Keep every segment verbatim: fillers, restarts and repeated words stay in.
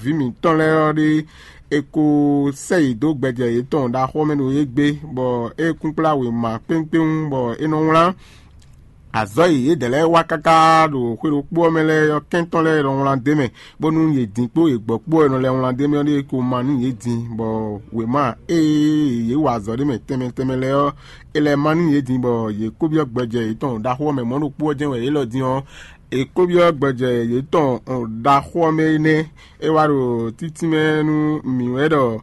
vǐ mǐtɔn lɛ́ɛ ɔ́ ɖé, è ko sɛ́ yě dó gbɛjɛ yětɔn ɖaxó ɔ́ mɛ ɖo égbé, bɔ é kún kplá wěma kpéwúnkpéwún, bɔ é nɔ wlán azɔ̌ e yědɛɛ lɛ́ɛ wa káká ɖo xwé ɖokpó ɔ́ mɛ lɛ́ɛ ɔ́, kɛ́ntɔ́ lɛ́ɛ nɔ wlán d'é mɛ, bónú yě din kpó yě gbɔ kpó wɛ nɔ lɛ́ wlán d'é mɛ ɔ́ ɖíe ko ma nú yě din, bɔ wěma e yě wa azɔ̌ ɖé mɛ tɛnmɛ tɛnmɛ lɛ́ɛ ɔ́, è lɛ́ ma nú yě din, bɔ yě kó byɔ́ gbɛjɛ yětɔn ɖaxó ɔ́ mɛ. Mɔ̌ ɖokpó ɔ́ jɛ́n wɛ yě lɔ din ɔ́, è kó byɔ́ gbɛjɛ yětɔn ɖaxó ɔ́ mɛ énɛ́. É wá ɖo títínmɛ nú mǐ wɛ ɖɔ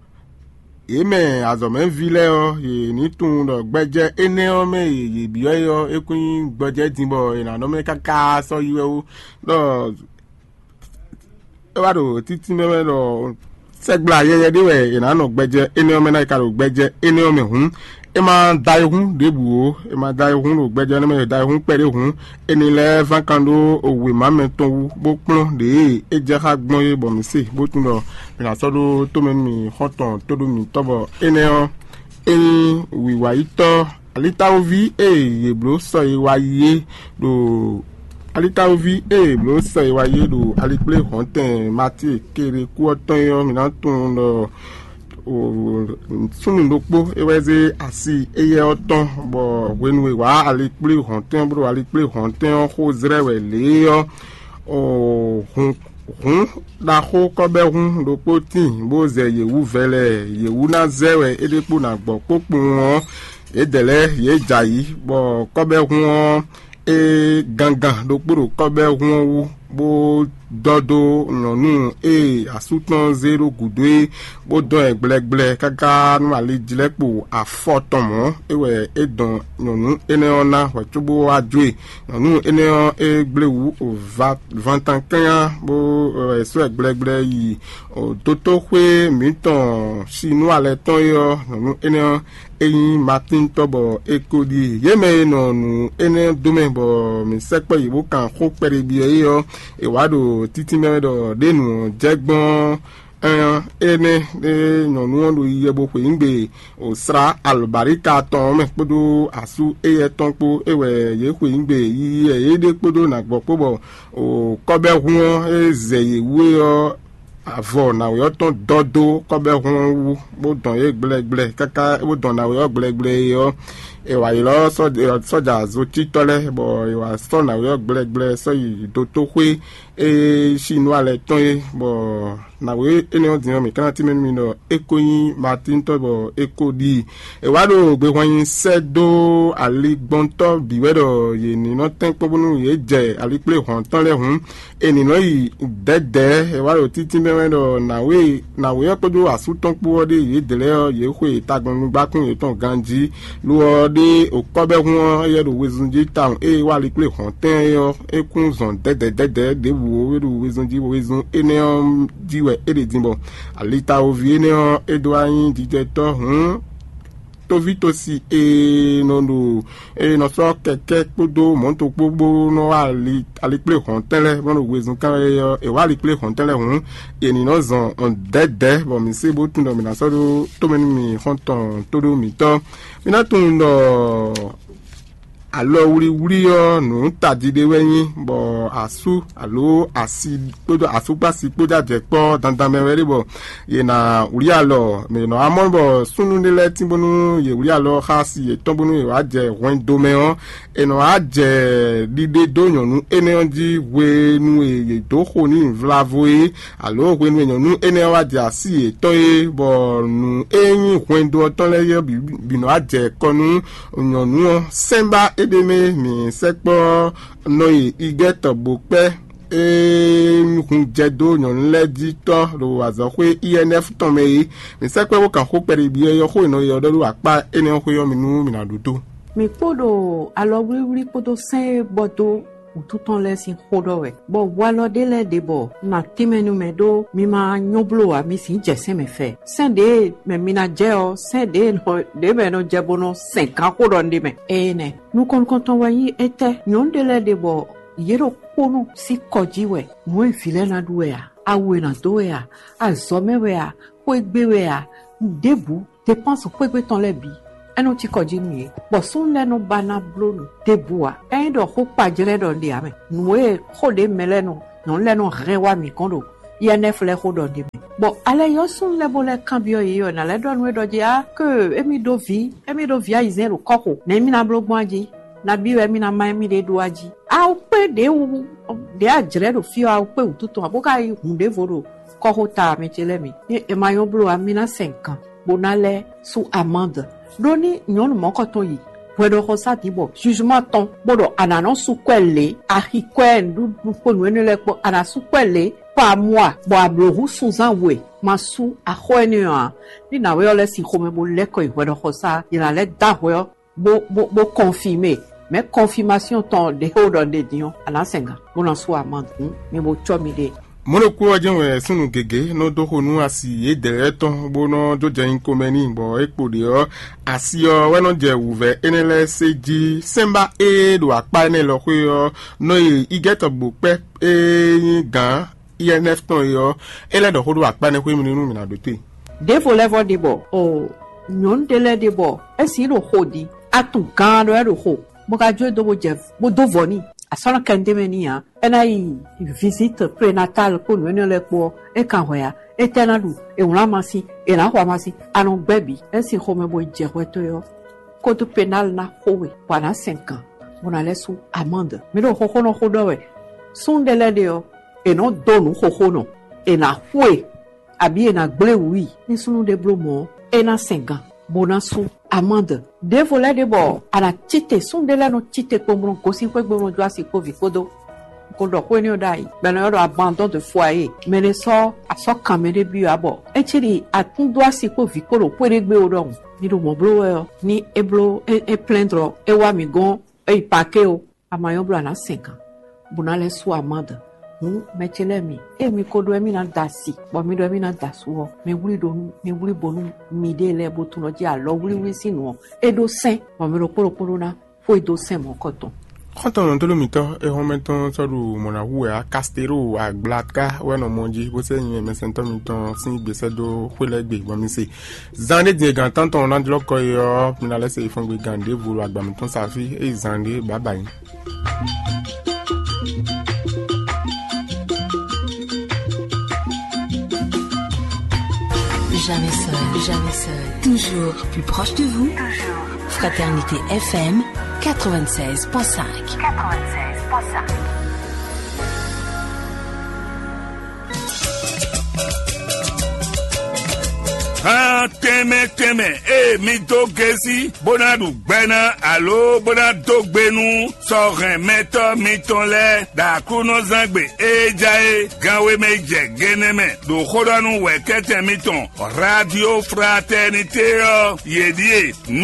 yě mɛ azɔ̌mɛví lɛ́ɛ ɔ́, yě ní tunwun ɖɔ gbɛjɛ énɛ́ ɔ́ mɛ e yě byɔ́ é ɔ́, é kún nyí gbɔjɛ́ din, bɔ è nǎ nɔ mɛ káká sɔ́ yi wɛ ó. Ɖɔ é wá ɖo títínmɛ mɛ ɖɔ sɛgbla yɛyɛ ɖé wɛ è nǎ nɔ gbɛjɛ énɛ́ ɔ́ mɛ ná, è ka ɖo gbɛjɛ énɛ́ ɔ́ mɛ hǔn, é ma da ayihún ɖěbǔ ó. É ma da ayihún ɖo gbɛjɛ énɛ́ mɛ, è da ayihún kpɛɖé hǔn, é ní lɛ́ ván kan ɖó wěma mɛ tɔn wú, bó kplɔ́n ɖěe é jɛ xá gbɔn é, bɔ mǐ se, bó tunwun ɖɔ mǐ ná sɔ́ ɖó tomɛ nú mì xɔ́ntɔn tóɖó mǐtɔn, bɔ énɛ́ ɔ́, é nyí wǐwáyítɔ́ alitáwóví e yě bló sɔ e wá yi é ɖo alitáwóví e yě bló sɔ e wá yi é ɖo alikplé hɔ̌ntɛn Matíe keɖe kú ɔ́ tɔn é ɔ́, mǐ ná tunwun ɖɔ súnnu ɖokpó é wɛ zé asi éyɛ́ ɔ́ tɔn, bɔ hwenu e wǎ alikplé hɔ̌ntɛn ɔ́, bó ɖo alikplé hɔ̌ntɛn ɔ́ xó zlɛ́ wɛ lě é ɔ́, hun hǔn ɖaxó kɔ́bɛ́hún ɖokpó tíin, bó zɛ yě wú vɛlɛ. Yě wú ná zɛ wɛ é ɖe kpó ná gbɔ kpókpowun ɔ́, yědɛɛ lɛ́ɛ yě jɛ ayǐ, bɔ kɔ́bɛ́hún ɔ́, é gangan ɖokpó ɖo kɔ́bɛ́hún ɔ́ wú, bó dɔ́ dó nyɔ̌nu e asú tɔn zé ɖó gǔdo é, bó dɔn ɛ gblɛgblɛ káká nú alijlɛ́kpo afɔ tɔn mɔ̌. É wɛ é dɔn nyɔ̌nu énɛ́ ɔ́ ná hwɛ̌ cóbó wá jó e. Nyɔ̌nu énɛ́ ɔ́, é gblé wǔ o va vantan kányá, bó wɛ sɔ́ ɛ gblɛgblɛ yi dotóxwé mǐtɔn Sinúa lɛ́ɛ tɔn é ɔ́, nyɔ̌nu énɛ́ ɔ́, é nyí Matín tɔn, bɔ è ko ɖi yě mɛ e nɔ nǔ énɛ́ dó mɛ, bɔ mǐ sɛkpɔ́ yě bó kan xó kpɛɖé byɔ́ é ɔ́, è wǎ ɖo títínmɛ wɛ ɖɔ ɖěnu ɔ́ jɛ gbɔn ɔ́, énɛ́ ɖé nyɔ̌nu ɔ́ ɖo yiyi wɛ bó xweyǐgbe wǒ slá alɔ̌baríka tɔn ɔ́ mɛ kpódó asú éyɛ́ tɔn kpó. É wɛ yě xweyǐgbe yiyi wɛ yě ɖe kpódó nǎgbɔ kpó, bɔ kɔ́bɛ́hún ɔ́ e zɛ yě wú é ɔ́, avɔ nǎwe ɔ́ tɔn dɔ́ dó kɔ́bɛ́hún ɔ́ wú, bó dɔn yě gblɛgblɛ káká bó dɔn nǎwe ɔ́ gblɛgblɛ é ɔ́, è wǎ ylɔ́ sɔ́ja zotítɔ́ lɛ́ɛ, bɔ è wǎ sɔ́ nǎwe ɔ́ gblɛgblɛ sɔ́ yi dotóxwé e Sinúa lɛ́ɛ tɔn é, bɔ nǎwe énɛ́ ɔ́ din ɔ́, mǐ ka ná tínmɛ nú mi ɖɔ é ko nyí Matín tɔn, bɔ é ko ɖi. È wá ɖo gbehwan nyi sɛ́ dó aligbɔntɔ́ bǐ wɛ ɖɔ yě ní nɔ tɛ́nkpɔ́n bónú yě jɛ alikplé hɔn tɔn lɛ́ɛ hǔn, è nǐ nɔ yi dɛ̌dɛ̌. È wá ɖo títínmɛ wɛ ɖɔ nǎwe nǎwe ɔ́ kpódó asú tɔn kpó ɔ́ ɖe yědɛɛ lɛ́ɛ ɔ́, yě xwe tagbɔnnugbákún yětɔn ganjí. Lo ɔ́ ɖe òkɔ́bɛ́hún ɔ́, éyɛ́ ɖo wezun jí tawun ée wá alikplé hɔn tɛn é ɔ́, é kún zɔn dɛ̌dɛ̌ dɛ̌dɛ̌ ɖěbǔ ó, é ɖo wezun jí, wezun énɛ́ ɔ́ jí wɛ é ɖe din bɔ alitawoví énɛ́ ɔ́, é dó wá nyí jijɛtɔ́ hǔn. Tóvítosi e nɔ ɖo e nɔ sɔ́ kɛkɛ́ kpódó mɔ̌to kpó bó nɔ wá ali alikplé hɔ̌ntɛn lɛ́ɛ bó nɔ wezun kán é ɔ́, è wá alikplé hɔ̌ntɛn lɛ́ɛ hǔn, è nǐ nɔ zɔn dɛ̌dɛ̌, bɔ mǐ se bó tunwun ɖɔ mǐ ná sɔ́ ɖó tomɛ nú mì xɔ́ntɔn tóɖó mǐtɔn. Mǐ ná tunwun ɖɔ alɔwlíwlí ɔ́, nǔ tají ɖé wɛ nyí, bɔ asú alo asi kpódó asúkpási kpódó ajɛ̌kpɔ́ dandan mɛ wɛ ɖé, bɔ yě ná wlí alɔ. Mɛ nɔ amɔ bɔ súnnu ɖé lɛ́ɛ tín bónú yě wlí alɔ xá asi yětɔn bónú yě wá jɛ hwɛndo mɛ ɔ́, è nɔ wá jɛ ɖiɖe dó nyɔ̌nu énɛ́ ɔ́ jí hwenu e yě dó xo n'i vlavo é, alo hwenu e nyɔ̌nu énɛ́ ɔ́ wá jɛ así yětɔn é, bɔ nǔ e nyí hwɛndo ɔ́ tɔn lɛ́ɛ ɔ́ bǐ nɔ wá jɛ kɔ nú nyɔ̌nu ɔ́. Sɛ́nbá é ɖ'é mɛ, mǐ sɛkpɔ́ nɔ yi igɛ́tɔ bó kpɛ́ e hun jɛ dó nyɔ̌nu lɛ́ɛ jí tɔ́ ɖo azɔ̌xwé I N F tɔn mɛ é. Mǐ sɛkpɔ́ bó kan xó kpɛɖé byɔ́ é ɔ́, xó e nɔ yi ɔ́ ɖɔ ɖó akpá énɛ́ ɔ́ xwé ɔ́ mɛ nú mǐ ná ɖu dó. Mǐ kpo ɖo alɔwlíwlí kpódó sɛ́n e bɔ dó wǔtu tɔn lɛ́ɛ sín xó ɖɔ wɛ, bɔ walɔ ɖé lɛ́ɛ ɖe bɔ un ná tínmɛ nú mɛ ɖó mi ma nyɔ́ bló ǎ, mi sǐ jɛ sɛ́n mɛ fɛ. Sɛ́n ɖě mɛ mi ná jɛ ɔ́, sɛ́n ɖě nɔ ɖě mɛ nɔ jɛ bó nɔ sɛn gǎn xó ɖɔ un ɖe mɛ. Énɛ́ nukɔn nukɔntɔn wɛ nyí étɛ́? Nyɔ̌nu ɖé lɛ́ɛ ɖe bɔ yě ɖo kpónɔ sín kɔ jí wɛ, nǔ e vǐ lɛ́ɛ ná ɖu wɛ a? Awu e nǎ dó wɛ a? Azɔ̌ mɛ wɛ a? Xwé gbe wɛ a? Nǔɖěbǔ, depánsu xwégbe tɔn lɛ́ɛ bǐ, é nɔ cí kɔ jí nú yě, bɔ súnnu lɛ́ɛ nɔ ba ná bló nǔ ɖěbǔ ǎ. Ényí ɖɔ xó kpajlɛ́ ɖɔ un ɖe ǎ mɛ, nǔ e xó ɖě mɛ lɛ́ɛ nɔ nyɔ̌nu lɛ́ɛ nɔ hɛn wá mǐ gɔ́n ɖo I N F lɛ́ɛ xó ɖɔ ɖ'é mɛ. Bɔ alɛ yɔ súnnu lɛ́ɛ bó lɛ́ kanbyɔ́ yě ɔ́, nǎ lɛ́ ɖɔ nú é ɖɔ jí á ke émí ɖó vǐ, émí ɖó vǐ ayizɛ́n ɖo kɔ́xo, nɛ̌ émí ná bló gbɔn jí? Nabí wɛ émí ná má émí ɖe ɖó a jí? Awu kpé ɖě wú ɖě a jlɛ̌ ɖo fí ɔ́, awu kpé wǔtu tɔn ǎ bó ka yí hun ɖěvo ɖo kɔ́xota mɛ ce lɛ́ɛ mi. Ée è ma nyɔ́ bló ǎ, mi ná sɛn gǎn, bó ná lɛ́ sú amande. Ɖó ní nyɔ̌nu mɔ̌kɔtɔn yi hwɛɖɔxɔsá din bɔ jugement tɔn bó ɖɔ a nǎ nɔ sú kwɛ́ lě, axi kwɛ́, nǔɖuɖu kpó nǔ énɛ́ lɛ́ɛ kpó, a nǎ sú kwɛ́ lě kpó amua, bɔ a blǒ hú sunzán we ma sú axɔ́ énɛ́ ɔ́ ǎ. Ní nǎwe ɔ́ lɛ́ sin xomɛ bó lɛ́ kɔ yi hwɛɖɔxɔsá, yě ná lɛ́ dó ahwɛ ɔ́ bó bó bó kɔnfimé, mɛ̌ kɔnfimasyon tɔn ɖě xó ɖɔ ɖe din ɔ́, a nǎ sɛn gǎn, bó ná sú amande. Hǔn mi bo cɔ́ miɖée. Mɔ̌ ɖokpó ɔ́ jɛ́n wɛ súnnu gěgé nɔ dó xo nú asi yědɛɛ lɛ́ɛ tɔn, bó nɔ́ jó jɛ nyǐkɔ mɛ n'i, bɔ é kpo ɖě ɔ́, asi ɔ́ wɛ nɔ jɛ wǔvɛ́ énɛ́ lɛ́ɛ sé jí. Sɛ́nbá e ɖo akpá énɛ́ lɔ xwé ɔ́ nɔ yi igɛ́tɔ́ gbo kpɛ́ e nyí gǎn I N F tɔn e ɔ́, é lɛ́ ɖɔ xó ɖó akpá énɛ́ xwé mì nú mì nǎ ɖótó e. Ɖěvo lɛ́ɛ vɔ ɖe bɔ o nyɔ̌nu ɖé lɛ́ɛ ɖe bɔ é sǐ ɖo xo ɖi, atun gán ɖɔ é ɖo xo, bó ka jó e dó bó jɛ bó dó vɔ̌ n'i. Asɔ́nɔ kɛntɛ́ mɛ n'i ǎ. É ná yi visite prénatale kpó nǔ énɛ́ lɛ́ɛ kpó ɔ́, é kan hwɛ ǎ. Étɛ́ ná ɖu? È wlǎn amasin, è nǎ xo amasin, a nɔ gbɛ́ bǐ. É sin xomɛ bo yi jɛ hwɛ towe ɔ́, kódó pénal ná xo we, bɔ a nǎ sɛn gǎn, bó ná lɛ́ sú amande. Mi ɖo xóxónɔ xó ɖɔ wɛ. Súnnu ɖé lɛ́ɛ ɖe ɔ́, è nɔ́ dó nǔ xóxónɔ, è nǎ xo e, abǐ è nǎ gblé wǔ i. Ní súnnu ɖé bló mɔ̌ ɔ́, é ná sɛn gǎn, bó ná sú amande. Ɖěvo lɛ́ɛ ɖe bɔ a nǎ cíte, súnnu ɖé lɛ́ɛ nɔ cíte kpowun, gosín xwé gbe bó nɔ jó asi kpó vǐ kpódó. Ko ɖɔ xó énɛ́ ɔ́ ɖ'ayǐ, bɔ è nɔ ylɔ́ ɖɔ abandon de foyer, mɛ ɖé sɔ́ asɔ́ kan mɛ ɖé byɔ́ ǎ, bɔ é cí ɖi atún dó asi kpó vǐ kpó ɖo xwé ɖé gbe ó ɖɔhun. Mi ɖo mɔ̌ bló wɛ ɔ́, ní é bló é plɛ́ndlɔ é wá mǐ gɔ́n, é yi pakée ó, a ma nyɔ́ bló a nǎ sɛn gǎn, bó ná lɛ́ sú amande. Hǔn mɛ ce lɛ́ɛ mi, ée mi ko ɖó wɛ mì ná da asi, bɔ mi ɖó wɛ mì ná da asú ɔ́, mi wlí ɖó nú mi wlí bo nú miɖée lɛ́ɛ bó tunɔ jí alɔ wlíwlí sín nǔ ɔ́, é ɖó sɛ́n, bɔ mi ɖokpó ɖokpó ɖó ná xwedó sɛn mɔ̌kɔtɔn. Xɔ́ntɔn nɔtɔ́ɖó mǐtɔn e hɔnmɛ tɔn sɔ́ ɖo mɔ̌ ná hu wɛ ǎ, Kastero Agblaka wɛ nɔ mɔ jí, bó sɛ́ nyɛ mɛsɛntɔ́ mitɔn sín gbèsè dó xwé lɛ́ɛ gbe, bɔ mi se. Zan ɖé din e gǎn tántɔn ná jlɔ́ kɔ é ɔ́, mi ná lɛ́ se yi fɔ́n gbe gǎn ɖěvo ɖo agba mǐtɔn sa fí, ée zan ɖé bǎbǎ nyí. Jamais seul, jamais seul, toujours plus proche de vous. Fraternité F M quatre-vingt-seize point cinq. Quatre-vingt-seize point cinq. Hán tɛnmɛ tɛnmɛ, ée mi dó gesi bó ná ɖu gbɛ ná alo bó ná dó gbe nú sɔhɛn mɛtɔ́ mitɔn lɛ́ɛ ɖo Aklúnɔzángbe e ja é gánwé mɛ jɛ gennɛ mɛ ɖo xó ɖɔ nú wɛ̌kɛ́tɛn mitɔn Radio Fraternité ɔ́, yě ɖíe.